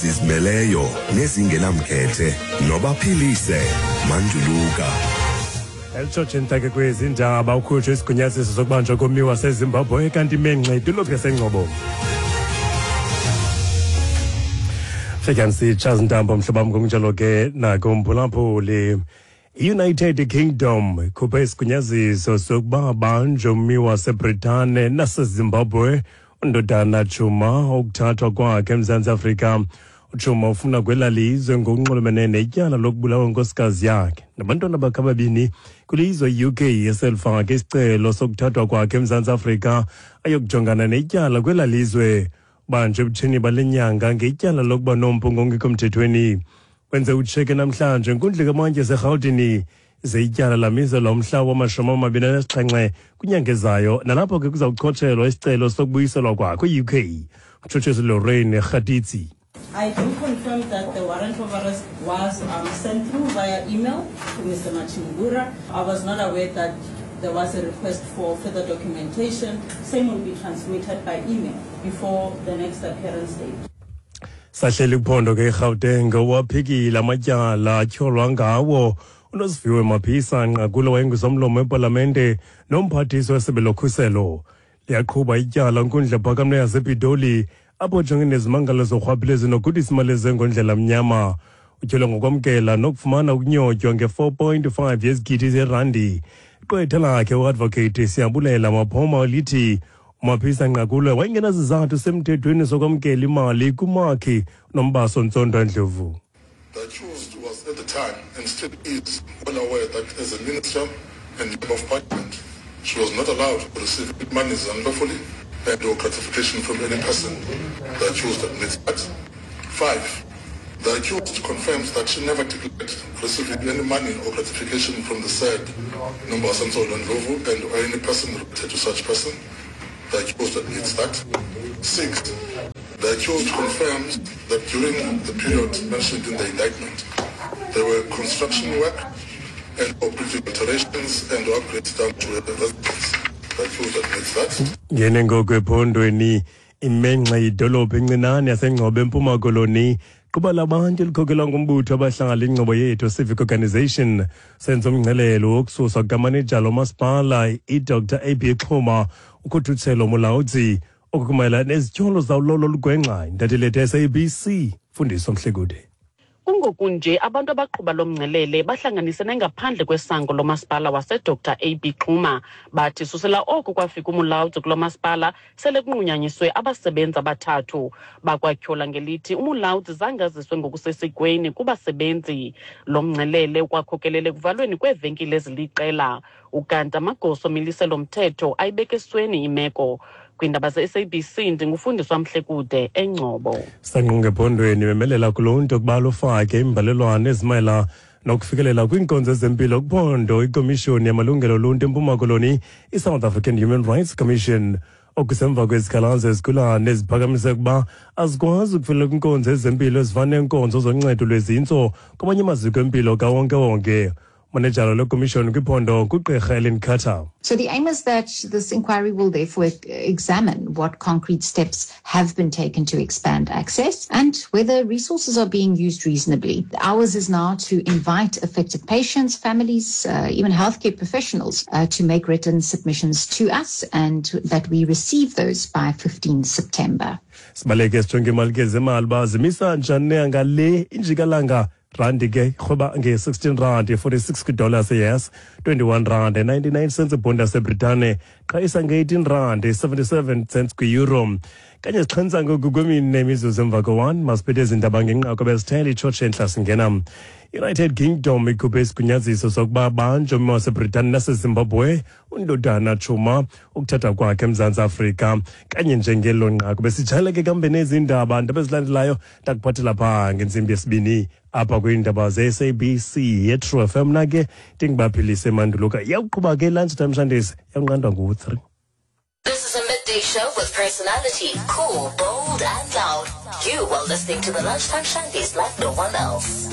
Zizimeleyo nezingenamkhethe nobaphilise manduluka. Elitshotshe ntake kwezi ndaba ukhutshwe isigunyaziso sokubanjwa kommi waseZimbabwe kanti imenxe idolophu yaseNgcobo. Fika ndisitsha zintambo mhlobo wam ngokunjalo ke nakumphulaphuli. I-United Kingdom ikhuphe isigunyaziso sokuba abanjwe ummi waseBritane naseZimbabwe uNdodana Tshuma ukuthathwa kwakhe eMzantsi Afrika. UTshuma ufuna kwela lizwe ngokunxulumene netyala lokubulawa nkosikazi yakhe nabantwana bakhe ababini kwilizwe i-UK eselifake isicelo sokuthathwa kwakhe eMzantsi Afrika ayokujongana netyala kwela lizwe. Ubanjwe ebutsheni bale nyanga ngetyala lokuba nompu ngongekho mthethweni. Wenze utsheke namhlanje enkundla kamantyi yaseRhawutini ze ityala lamiselwa umhla wama-27 kwinyanga ezayo nalapho ke kuzawuchotshelwa isicelo sokubuyiselwa kwakhe kwi-UK. Utshutshisi Lorraine Kgatitsi. I do confirm that the warrant of arrest was sent through via email to Mr. Machingura. I was not aware that there was a request for further documentation. Same will be transmitted by email before the next appearance date. Sahleli kuphondo ke iGauteng waphikile amatyala atyholwa ngawo uNosiviwe Maphisa Nqakula wayengusomlomo wepalamente nomphathiswa wesebe lokhuselo. Liyaqhuba ityala nkundla ephakamileyo yasePitoli apho ujongene nezimangalo zorhwaphilizo nokudisa imali ezengondlela mnyama. Utyholwa ngokwamkela nokufumana ukunyotywa nge-4.5 yezigidi zerandi. Iqwetha lakhe uadvocate Siyabulela Maphoma lithi uMaphisa Nqakula wayengenazizathu semthethweni sokwamkela imali kumakhi Nombaso Ntsondwa Ndlovu. The accused was at the time and still is well aware that as a minister and member of parliament, she was not allowed to receive monies unlawfully and or gratification from any person. The accused admits that. 5. The accused confirms that she never declared receiving any money or gratification from the said Nombasa Ndlovu and or any person related to such person. The accused admits that. 6. The accused confirms that during the period mentioned in the indictment, there were construction work and or building alterations and upgrades done to the residence. The accused admits that. Ngene ngoku ephondweni imenxe idolophu encinane yaseNgcobo eMpuma Koloni quba labantu elikhokelwa ngumbutho abahlali ingcobo yethu Civic Organization senza umngcelelo wokususwa kukamanejala womasipala iDr AB Xhuma uKhuthutshelo Mulaudzi okukumayela nezityholo zawulolo olugwenxa. Intatheli yethu SABC Fundiso Mhlekude. Kungoku nje abantu abaqhuba lo mngcelele bahlanganisene ngaphandle kwesango lomasipala waseDr AB Xuma. Bathi susela oko kwafika uMulaudzi kulo masipala sele kunqunyanyiswe abasebenzi abathathu. Bakwatyhola ngelithi uMulaudzi zange aziswe ngokusesikweni kubasebenzi. Lo mngcelele ukwakhokelele ekuvalweni kweevenkile eziliqela. Ukanti amagosa omiliselo mthetho ayibeke esweni imeko. Kwiindaba ze-SABC ndingufundiswa Mhlekude eNgcobo. Sanqunge ephondweni bemelela kuluntu ukuba lufake imbalelwano ezimayela nokufikelela kwiinkonzo zempilo kuphondo iKomishoni yamalungelo oluntu eMpuma Koloni iSouth African Human Rights Commission. Okusemva kwezikhalazo ezigulane eziphakamise ukuba azikwazi ukufikelela kwiinkonzo ezempilo ezifana neenkonzo zoncedo lwezintso kwamanye amaziko empilo kawonkewonke. Manejala lekomishoni kwiphondo kugqirha Ellen Carter. So the aim is that this inquiry will therefore examine what concrete steps have been taken to expand access and whether resources are being used reasonably. Ours is now to invite affected patients, families, even healthcare professionals to make written submissions to us, and that we receive those by 15 September. Sibaleke sijonge imali ke zemali uba zimisa njani ngale injikalanga. Randi ke rhweba nge-16 rand 46 kwidola yes 21 rand 99 cents ibhondi yaseBritane qhayisa nge-18 rand 77 cents kwi-euro. Kanye sixhensa ngoku kwemine imizuzu emva ko-1 masiphethe ezi ndaba ngenqaku ebesithele itshotshe entla singena. United Kingdom ikhuphe isigunyaziso sokuba banjwe ummi waseBritane naseZimbabwe uNdodana Tshuma ukuthatha kwakhe eMzantsi Afrika. Kanye njengelo nqaku besijayeleke ke kambe nezi ndaba ndaba ezilandelayo ndakuphathela phaa ngentsimbi yesibini apha kwiindaba ze-SABC yeTrue FM. Na ke ndingibaphilise manduluka iyawuqhuba ke lunchtime Shandisi yawunqandwa ngu-3. This is a midday show with personality, cool, bold and loud. You are listening to the Lunchtime Shandies like no one else.